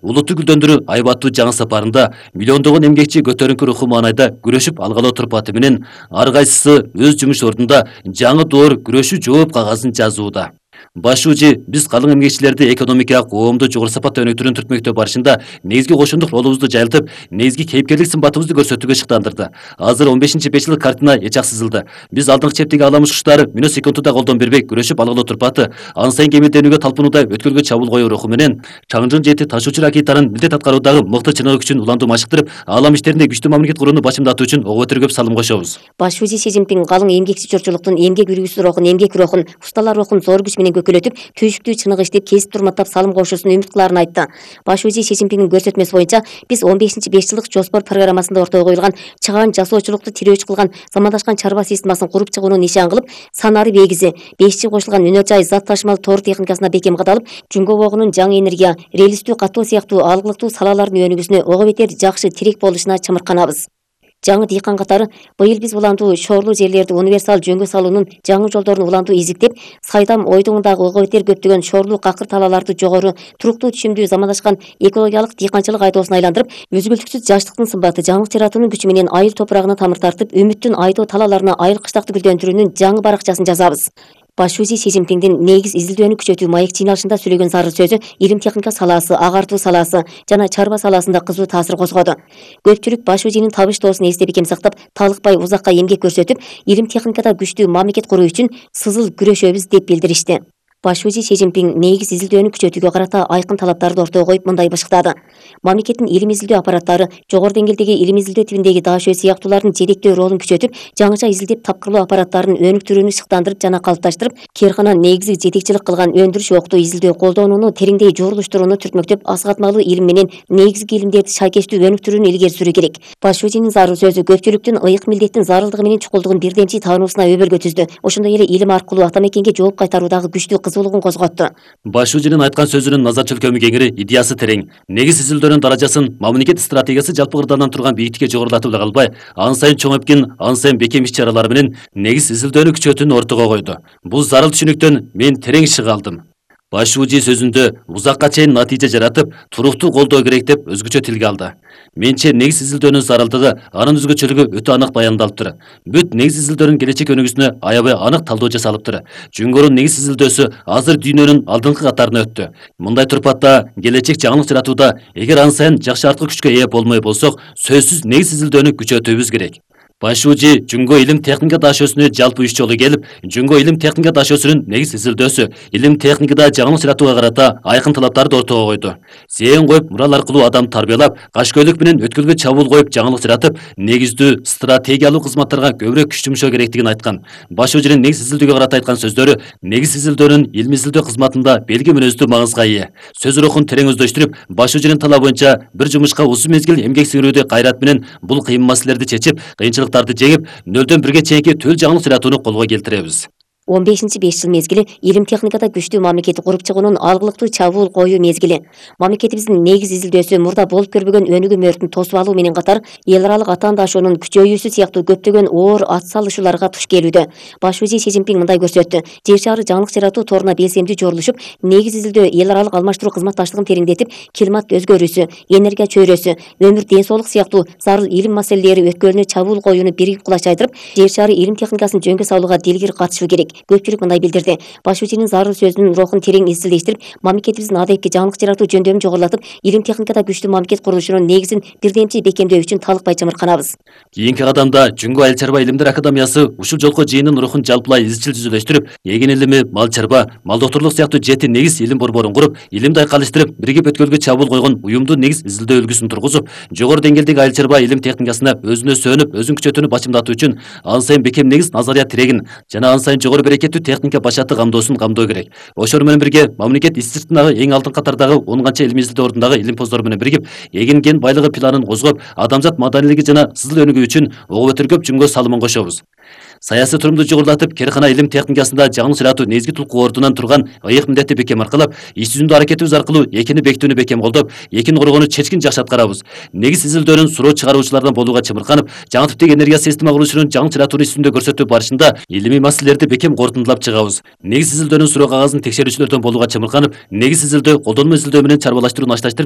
улутту гүлдөндүрүү айбаттуу жаңы сапарында миллиондогон эмгекчи көтөрүңкү руху маанайда күрөшүп алгалы турпаты менен ар кайсысы өз жумуш ордунда жаңы доор күрөшүү жооп кагазын жазууда. Баш шуужи биз калың эмгекчилерди экономикага коомду жогору сапатта өнүктүрүүнү түртмөктөө барышында негизги кошундук ролубузду жайылтып, негизги кейпкерлик сымбатыбызды көрсөтүүгө шыктандырды. Азыр 15-5 картина эчак сызылды. Биз алдыңкы чептеги аламыш куштары мүнөт секундда колдон бербей күрөшүп алгалы турпаты, ан сайын кемелденүүгө талпынууда өткөлгө чабуул коюу руху менен чаңжын жети ташуучу ракетанын милдет аткаруудагы мыкты чыныгы күчүн улантуу машыктырып, алам иштеринде күчтүү мамлекет курууну башымдатуу үчүн ого бетер көп салым кошобуз. Баш шүүжи Си Цзиньпин калың эмгекчи журтчулуктун эмгек үргүсү рухун, эмгек рухун, усталар рухун зор күч менен көкөлөтүп, түйшүктүү чыныгы иштеп, кесип турматтап салым кошуусун үмүт кылаарын айтты. Баш шүүжи Си Цзиньпиндин көрсөтмөсү боюнча биз 15-5 жылдык жоспор программасында ортого коюлган чыгаан жасоочулукту тирөөчү кылган замандашкан чарба системасын куруп чыгууну нишан кылып, санары бегизи 5G кошулган өнөр жай зат ташымал тоор техникасына бекем кадалып, жүнгө богунун жаңы энергия, релистүү каттоо сыяктуу алгылыктуу салалардын өнүгүүсүнө ого бетер жакшы тирек болушуна чымырканабыз. Жаңы дыйкан катары быйыл биз улантуу шоорлуу жерлерди универсал жөнгө салуунун жаңы жолдорун улантуу издиктеп, Сайдам ойдуңундагы ого бетер көптөгөн шоорлуу какыр талааларды жогору, туруктуу түшүмдүү замандашкан экологиялык дыйканчылык айдоосуна айландырып, үзгүлтүксүз жаштыктын сымбаты, жаңылык жаратуунун күчү менен айыл топурагына тамыр тартып, үмүттүн айдоо талааларына айыл кыштакты гүлдөндүрүүнүн жаңы баракчасын жазабыз. Баш шүүжи Си Цзиньпиндин негиз изилдөөнү күчөтүү маек жыйналышында сөйлөгөн зарыл сөзү илим техника салаасы, агартуу салаасы жана чарба саласында кызуу таасир козгоду. Көпчүлүк баш шүүжинин табыштоосун эсте бекем сактап, талыкпай узакка эмгек көрсөтүп, илим техникада күчтүү мамлекет куруу үчүн сызыл күрөшөбүз деп билдиришти. Баш шүүжи Си Цзиньпин негиз изилдөөнү күчөтүүгө карата айкын талаптарды ортого коюп мындай бышыктады. Мамлекеттин илим изилдөө аппараттары жогору деңгээлдеги илим изилдөө тибиндеги даашөө сыяктуулардын жетектөө ролун күчөтүп, жаңыча изилдеп тапкырлоо аппараттарын өнүктүрүүнү шыктандырып жана калыпташтырып, Керкана негизи жетекчилик кылган өндүрүш октуу изилдөө колдонууну тереңдей журулуштурууну түртмөктөп, асыгатмалуу илим менен негизги илимдерди шайкештүү өнүктүрүүнү илгери сүрүү керек. Баш шүүжинин зарыл сөзү көпчүлүктүн ыйык милдеттин зарылдыгы менен чукулдугун бирдемчи таануусуна өбөлгө түздү. Ошондой эле илим аркылуу ата мекенге жооп кайтаруудагы күчтүү кызуулугун козготту. Баш шүүжинин айткан сөзүнүн назар чөлкөмү кеңири, идеясы терең. Негиз изилдөөнүн даражасын мамлекет стратегиясы жалпы кырдаалдан турган бийиктикке жогорулатып эле калбай, ан сайын чоңойткин, ан сайын бекем иш-чаралар менен негиз изилдөөнү күчөтүүнү ортого койду. Бул зарыл түшүнүктөн мен терең шыга алдым. Баш шүүжи сөзүндө узакка чейин натыйжа жаратып, туруктуу колдоо керек деп өзгөчө тилге алды. Менче негиз изилдөөнүн зарылдыгы, анын өзгөчөлүгү өтө анык баяндалыптыр. Бүт негиз изилдөөнүн келечек өнүгүүсүнө аябай анык талдоо жасалыптыр. Жүнгөрүн негиз изилдөөсү азыр дүйнөнүн алдыңкы катарына өттү. Мындай турпатта келечек жаңылык жаратууда эгер ан сайын жакшы арткы күчкө ээ болмой болсок, сөзсүз негиз изилдөөнү күчөтүүбүз керек. Баш шүүжи Жүнгө илим техника даашөсүнө жалпы 3 жолу келип, Жүнгө илим техника даашөсүнүн негиз изилдөөсү, илим техникада жаңылык жаратууга карата айкын талаптарды ортого койду. Зээн коюп, мурал аркылуу адам тарбиялап, кашкөйлүк менен өткөлгө чабуул коюп жаңылык жаратып, негиздүү стратегиялык кызматтарга көбүрөөк күч жумшоо керектигин айткан. Баш шүүжинин негиз изилдөөгө карата айткан сөздөрү негиз изилдөөнүн илим изилдөө кызматында белги мүнөздүү маңызга ээ. Сөз рухун терең өздөштүрүп, баш шүүжинин талабы боюнча бир жумушка узун мезгил эмгек сиңирүүдө кайрат менен бул кыйын маселелерди чечип, кыйынчылыктарды жеңип, 0-1 чейинки төл жаңылык жаратууну колго келтиребиз. 15-5 жыл мезгили илим техникада күчтүү мамлекет куруп чыгуунун алгылыктуу чабуул коюу мезгили. Мамлекетибиздин негиз изилдөөсү мурда болуп көрбөгөн өнүгүү мөөрүтүн тосуп алуу менен катар, эл аралык атаандашуунун күчөйүүсү сыяктуу көптөгөн оор ат салышууларга туш келүүдө. Баш шүүжи Си Цзиньпин мындай көрсөттү. Жер шары жаңылык жаратуу торуна белсемдүү жорулушуп, негиз изилдөө эл аралык алмаштыруу кызматташтыгын тереңдетип, климат өзгөрүүсү, энергия чөйрөсү, өмүр ден соолук сыяктуу зарыл илим маселелери өткөлүнө чабуул коюуну биригип кулачайдырып, жер шары илим техникасын жөнгө салууга дилгир катышуу керек. Көпчүлүк мындай билдирди. Баш шүүжинин зарыл сөзүнүн рухун терең изилдештирип, мамлекетибиздин адайыпки жаңылык жаратуу жөндөмүн жогорулатып, илим техникада күчтүү мамлекет курулушунун негизин бирдемчи бекемдөө үчүн талыкпай чымырканабыз. Кийинки кадамда Жүнгө айыл чарба илимдер академиясы ушул жолку жыйындын рухун жалпылай изчил түзүлөштүрүп, эгин илими, мал чарба, мал доктурлук сыяктуу 7 негиз илим борборун куруп, илимди айкалыштырып, биригип өткөлгө чабуул койгон уюмдуу негиз изилдөө үлгүсүн тургузуп, жогору деңгээлдеги айыл чарба илим техникасына өзүнө сөнүп, өзүн күчөтүүнү башымдатуу үчүн ан сайын бекем негиз назария тирегин жана ан сайын жогору берекеттүү техника башаты камдоосун камдоо керек. Ошол менен бирге мамлекет иш сыртындагы эң алдыңкы катардагы 10 канча илим изилдөө ордундагы илим поздор менен биригип, эгин кен байлыгы планын козгоп, адамзат маданилиги жана сызыл өнүгүү үчүн ого бетер көп Жүнгө салымын кошобуз. Саясий турумду жогорулатып, Керкана илим техникасында жаңылык жаратуу негизги тулкуу ордунан турган ыйык милдетти бекем аркылап, иш жүзүндө аракетибиз аркылуу экини бекитүүнү бекем колдоп, экини коргоону чечкин жакшы аткарабыз. Негиз изилдөөнүн суроо чыгаруучулардан болууга чымырканып, жаңы типтеги энергия система курулушунун жаңы жаратууну иш жүзүндө көрсөтүү барышында илимий маселелерди бекем корутундулап чыгабыз. Негиз изилдөөнүн суроо кагазын текшерүүчүлөрдөн болууга чымырканып, негиз изилдөө колдонмо изилдөө менен чарбалаштырууну ашташтырып,